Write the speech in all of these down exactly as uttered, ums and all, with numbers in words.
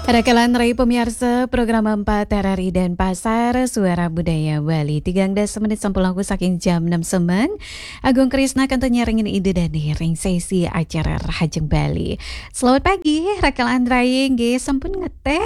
Raka lan rai pamiarsa program empat R R I Denpasar, Suara Budaya Bali. Tigang dasa menit sampun langkung saking jam enam semeng. Agung Krisna kantun nyarengin Ida Dane ring sesi acara Rahajeng Bali. Selamat pagi, raka lan rai, nggih sampun ngeteh.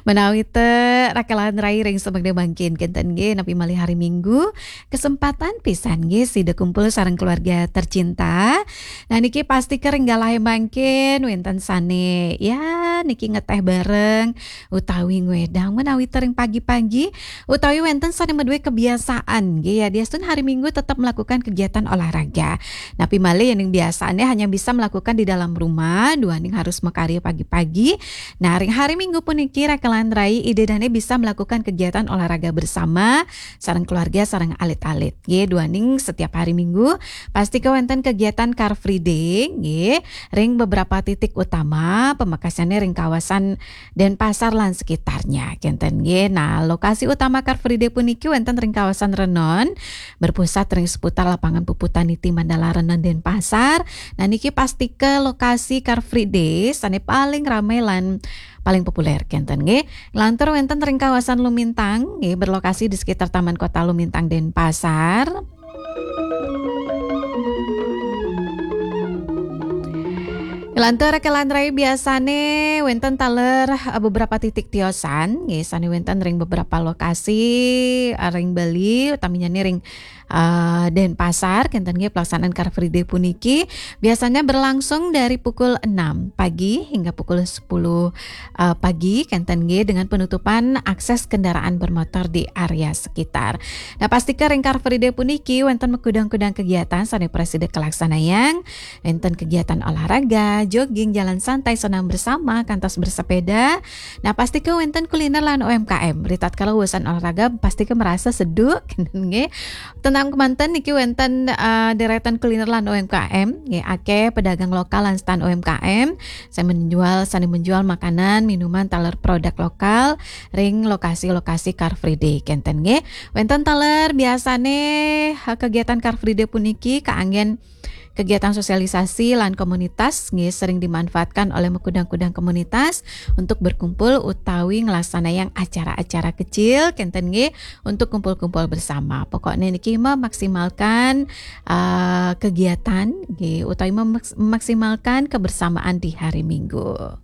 Menawi te raka lan rai ring semeng mangkin kenten nggih, napi malih hari Minggu, kesempatan pisan nggih sida kumpul sareng keluarga tercinta. Nah, niki pasti ring galahe mangkin wenten sane, ya, niki ngeteh bareng utawi ngwedang menawi te ring pagi-pagi, utawi wenten sane madue kebiasaan nggih, ya, diastun hari Minggu tetap melakukan kegiatan olahraga. Napi malih yening biasane hanya bisa melakukan di dalam rumah, duaning harus makarya pagi-pagi. Nah, ring hari Minggu puniki raka lan rai Ida Dane bisa melakukan kegiatan olahraga bersama sareng keluarga, sareng alit-alit. Nggih, duaning setiap hari Minggu pasti kewenten kegiatan Car Free Day, nggih, ring beberapa titik utama, pamekasane ring kawasan Denpasar lan sekitarnya, kenten nggih. Nah, lokasi utama Car Free Day puniki wenten ring kawasan Renon, berpusat ring seputar lapangan Puputaniti Mandala Renon Denpasar. Nah, niki pastika lokasi Car Free Day sane paling ramai lan paling populer, kenten nggih. Nglantur wenten ring kawasan Lumintang, nggih, berlokasi di sekitar Taman Kota Lumintang, Denpasar. Nglantur raka lan rai biasane wenten taler, eh, beberapa titik tiosan, nggih, sane wenten ring beberapa lokasi, eh, ring Bali, utaminya ring, eh, Denpasar, kenten nggih, pelaksanaan Car Free Day puniki biasanya berlangsung dari pukul enam pagi hingga pukul sepuluh, eh, pagi, kenten nggih, dengan penutupan akses kendaraan bermotor di area sekitar. Nah, pastika ring Car Free Day puniki wenten makudang-kudang kegiatan sane prasida kalaksanayang, wenten kegiatan olahraga, jogging, jalan santai, senam bersama, kantos bersepeda. Nah, pastika wenten kuliner lan U M K M. Ritatkala usan olahraga, pastika merasa seduk, kenten nggih. Tenang kemanten niki wenten, eh, deretan kuliner lan U M K M, nggih, akeh pedagang lokal lan stand U M K M sane menjual, sane menjual makanan, minuman, taler produk lokal ring lokasi-lokasi Car Free Day, kenten nggih. Wenten taler biasane, eh, kegiatan Car Free Day puniki kaanggen kegiatan sosialisasi lan komunitas, nggih, sering dimanfaatkan oleh makudang-kudang komunitas untuk berkumpul utawi nglaksanayang acara-acara kecil, kenten nggih, untuk kumpul-kumpul bersama. Pokoknya niki memaksimalkan, eh, kegiatan, nggih, utawi memaks-, memaksimalkan kebersamaan di hari Minggu.